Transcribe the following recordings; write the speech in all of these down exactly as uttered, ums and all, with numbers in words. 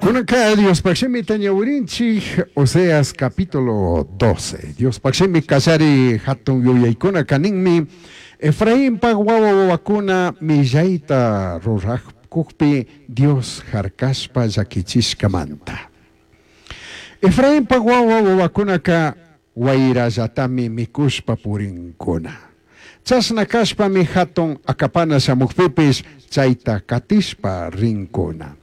Kunanka Diospaj shimita ñawirinchik Oseas capítulo doce. Diospaj shimi kallari hatun yuyaykuna kaninmi Efrainpaj wawa wawakuna millayta rurajkukpi Dios harkashpa llakichishkamanta. Efrainpaj wawa wawakunaka wayrallatami mikushpa purinkuna. Chashna kashpami hatun akapana shamukpipish chayta katishpa rinkuna.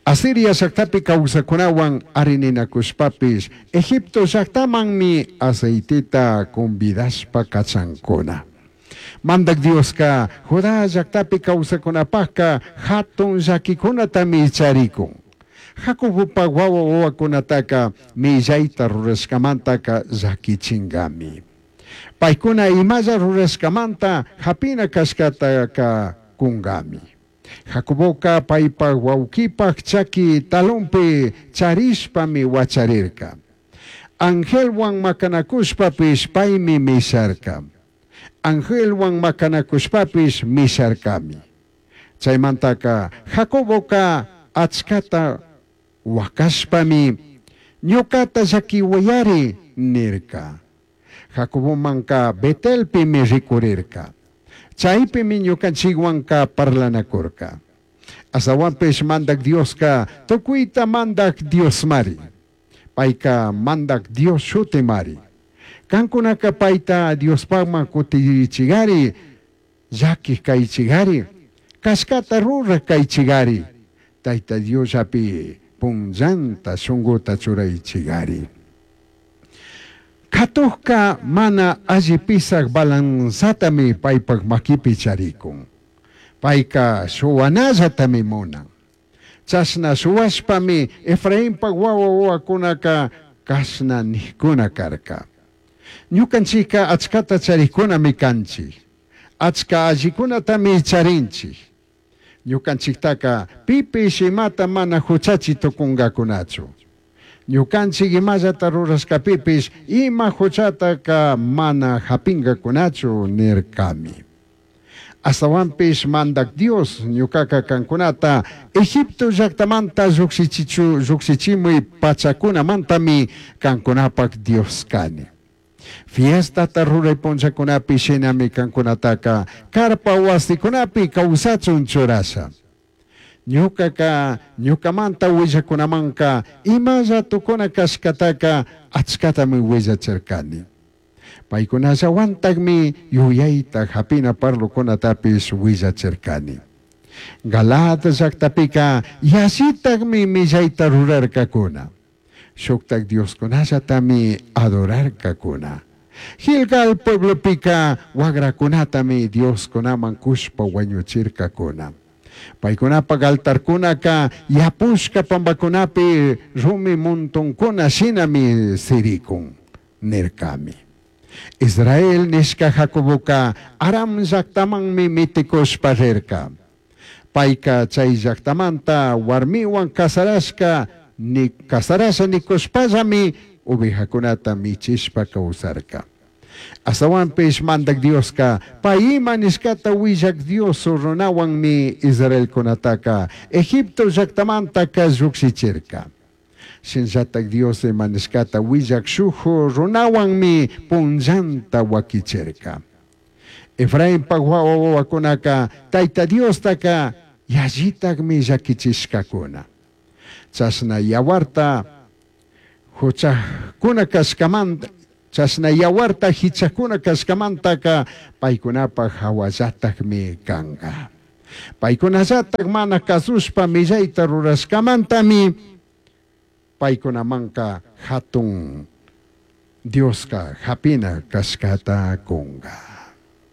Asiria llaktapi kawsakunawan arininakushpapish Egipto llaktamanmi aceiteta convidashpa kachankuna. Mandak Dioska Judá llaktapi kawsakunapajka hatun llakikunatami charikun. Jacobopaj wawa wawakunataka millayta rurashkamantaka llakichinkami. Paykuna imalla rurashkamanta hapina kashkataka kunkami. Jacoboka paypaj wawkipaj chaki talonpi charishpami wacharirka. Angelwan makanakushpapish paymi misharka. Angelwan makanakushpapish misharkami. Chaymantaka Jacoboka achkata wakashpami ñukata llakiwayari nirka. Jacobomanka Betelpimi rikurirka. Chaypimi ñukanchikwanka parlanakurka. Astawanpish mandak Dioska tukuyta mandak Diosmari. Payka mandak Dios shutimari. Kankunaka payta Diospajman kutirichigari, llakij kaychigari, kashkata ruraj kaychigari, Tayta Diosllapi punllanta shunkuta churaychigari. Katukka mana alli pisaj balanzatami paypaj makipi charikun. Payka shuwanallatami munan. Chashna shuwashpami Efrainpaj wawa wawakunaka kashna nijkuna karka. Ñukanchikka achkata charikkunami kanchik. Achka allikunatami charinchik. Ñukanchiktaka pipish imata mana huchachi tukunkakunachu. Ñukanchik imallata rurashkapipish ima huchataka mana hapinkakunachu nirkami. Astawanpish mandak Dios ñukaka kankunata Egipto llaktamanta llukshichichu llukshichimuy pachakunamantami kankunapak Dios kani. Fiestata ruray punllakunapi shinami kankunataka karpa wasikunapi kawsachun churasha. Ñukaka ñukamanta willakunamanka imalla tukuna kashkataka achkatami willachirkani. Paykunallawantakmi yuyayta hapina parlokunatapish willachirkani. Galaad llaktapika yallitakmi millayta rurarkakuna. Shuktak dioskunallatami adorarkakuna. Gilgal pueblopika wagrakunatami dioskunaman kushpa wañuchirkakuna. Paykunapak altarkunaka yapushka pampakunapi rumi montonkuna shinami sirikun nirkami. Israel nishka Jacoboka Aram llaktamanmi mitikushpa rirka. Payka chay llaktamanta warmiwan kasarashka ni kasarasha nikushpallami ovejakunata michishpa kawsarka. Astawanpish mandak Dioska pay ima nishkata willak Dios runawanmi Israelkunataka Egipto llaktamantaka llukshichirka. Shinallatak Dios ima nishkata willak shuk runawanmi punllanta wakichirka. Efrainpaj wawa wawakunaka Tayta Diostaka yallitakmi llakichishkakuna. Chashna yawarta huchakuna kashkamanta chashna yawarta hichakuna kashkamantaka paykunapaj hawallatakmi kanka. Paykunallatak mana kasushpa millayta rurashkamantami paykunamanka hatun Dioska hapina kashkata kunka.